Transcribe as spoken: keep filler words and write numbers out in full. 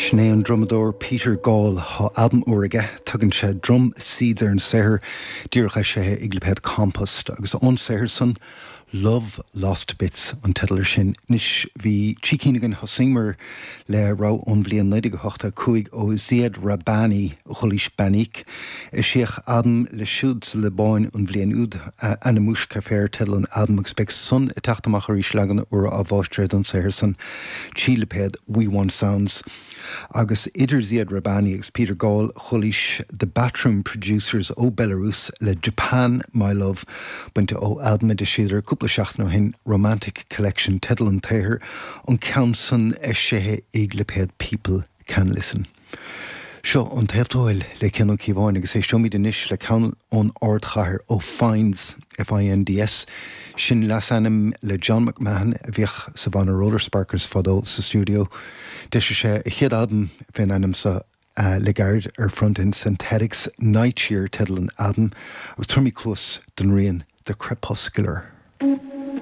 Sin é an drumadóir Peter Gall. Tá albam úr aige, tugann sé Drum Seeds ar an saothar, díreach eisithe ag lipéad Compost, agus ón saothar san, Love Lost Bits an teideal ar sin. Anois bhí trí cinn againn. Thosaíomar le rogha ón bhliain naoi déag a hocht a cúig ó Ziad Rahbani, chualaís Banik. Eisíodh albam leis siúd sa Liobáin an bhliain úd, Ana Mouch Kafer teideal an albaim, agus beidh san ag teacht amach arís, leagan úr á mháistreadh don saothar san trí lipéad We Want Sounds. Agus idir Ziad Rahbani agus Peter Gall chualaís The Batroom Producers ó Belarus le Japan My Love, bainte ó albam a d'eisíodar cúpla seachtain ó shin, Romantic Collection teideal an tsaothair, an ceann san eisithe ag lipéad People Can Listen. Seo An Taobh Tuathail le Cian Ó Cíobháin, agus éisteoimid anois le ceann ón ardchathair, ó Finds, F I N D S. Sin leasainm le John McMahon, a bhíodh sa bhanna Roller Sparkers fadó, sa stiúideo. D'eisigh sé a chéad albam fén ainm seo uh, le gairid ar Front End Synthetics, Night Cheer teideal an albam, agus tabharfaimid cluas don rian The Crepuscular.